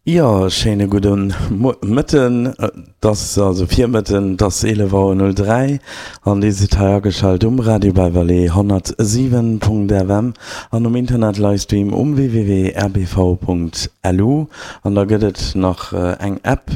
Jo, schéine gudde Mëtten. Et ass also Virmëtten, et ass 11 Auer 03 an Dir sidd hei ageschalt um Radio Bas-Vallée 107.fm an um Internet-Livestream um www.rbv.lu. An da gëtt et nach eng App,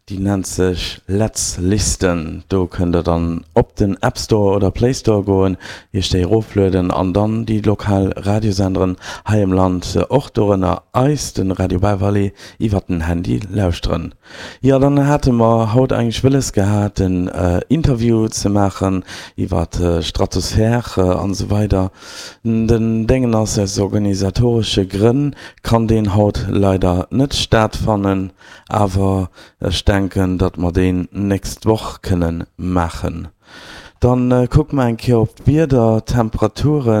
Déi nennt sech Let's Listen. Do kënnt der dann op den App Store oder Play Store goen, iech déi eroflueden an dann déi lokal Radiosenderen hei am Land, och dorënner eis, de Radio Bas-Vallée, iwwert den Handy lauschteren. Jo, dann hate mer haut eigentlech wëlles gehat en Interview ze maachen iwwert Stratosphère an esou weider. Den Déngen ass, aus organisatoresche Grënn kann deen haut leider net stattfannen. Awer ech denken, datt mer deen nächst Woch kënne maachen. Dann kucke mer eng Kéier op d'Wieder. D'Temperature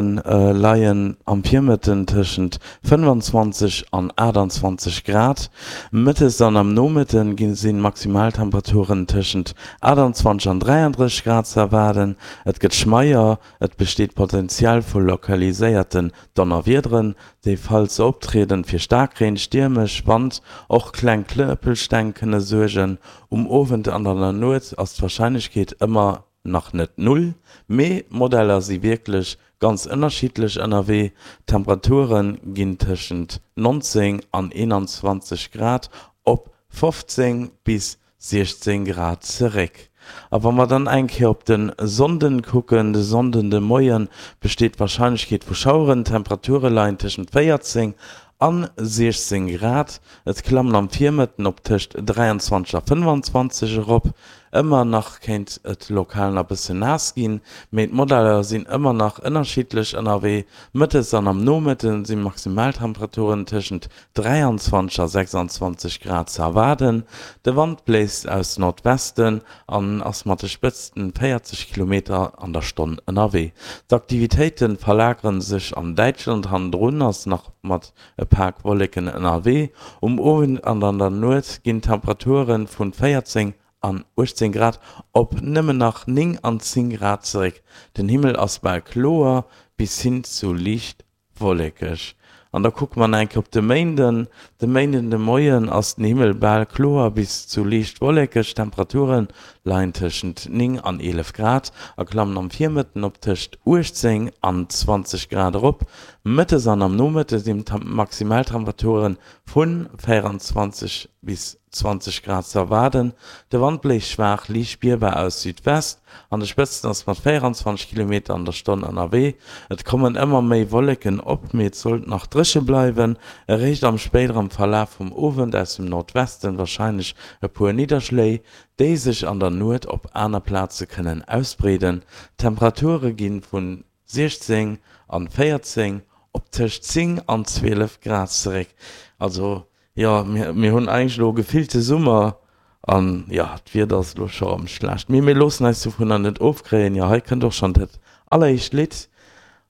leien am Virmëtten tëschent 25 an 28 Grad. Mëttes an am Nomëtte sinn d'Maximaltemperaturen tëschent 28 an 33 Grad ze erwaarden. Et gëtt schmeier, et besteet Potenzial vu lokaliséierten Donnerwiederen, déi falls se optrieden, fir Staarkreen, stiermesch Wand, och kleng Knëppelsteng kënne suergen. Um Owend an an der Nuet ass d'Warscheinlechkeet ëmmer nach net null, mee d'Modeller si wierklech ganz ënnerschiddlech ënnerwee. D'Temperature ginn tëschent 19 an 21 Grad op 15 bis 16 Grad zeréck. A wa mer dann eng Kéier op de Sonnden kucken, de Sonnden de Moie besteet d'Warscheinlechkeet vu Schaueren, d'Temperature leien tëschent 14 an 16 Grad, et klammen am Virmëtten op tëscht 23 a 25 erop. Ëmmer nach kéint et lokal nach bësse naass ginn, mee d'Modeller sinn ëmmer nach ënnerschiddlech ënnerwee. Mëttes an am Nomëtte si Maximaltemperaturen tëschent 23 a 26 Grad ze erwaarden. De Wand bléist aus Nordwesten an ass mat de Spëtzten 40 Kilometer an der Stonn ënnerwee. D'Aktivitéite verlagere sech an Däitschland, hannendrun ass nach mat e Pak Wolleken ënnerwee. Um Owend an an der Nuet ginn d'Temperature vun 14 an 18 Grad op nëmmen nach 9 an 10 Grad zeréck. Den Himmel ass bal kloer bis hin zu liicht Wollekeg. An da kucke mer nach eng Kéier op de Méinden. De Méinden de Moien ass den Himmel bal kloer bis zu liicht wollekeg. D'Temperature leien tëschent 9 an 11 Grad a klammen am Virmëtten op tëscht 18 an 20 Grad erop. Mëttes an am Nomëtte sinn d'Maximaltemperature vu 24 bis 20 Grad ze erwaarden. De Wand bléist schwaach, liicht spierbar aus Südwest. An de Spëtzen ass mat 24 Kilometer an der Stonn ënnerwee. Et kommen ëmmer méi Wolleken op, mee et sollt nach dréche bleiwen. Eréischt am spéiderem Verlaf vum Owend aus dem Nordwesten warscheinlech e puer Nidderschléi, déi sech an der Nuet op aner Plaze kënnen ausbreeden. D'Temperature gi vun 16 an 14 op tëscht 10 an 12 Grad zeréck. Also jo, mir hunn eigentlech elo gefillte Summer an jo, d'Wieder ass elo scho rëm schlecht. Mee mir loossen eis dovunner net ofkréien. Jo, hei kënnt och schonn dat alleréischt Lidd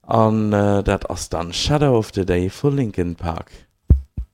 an dat ass dann Shadow of the Day vu Linkin Park.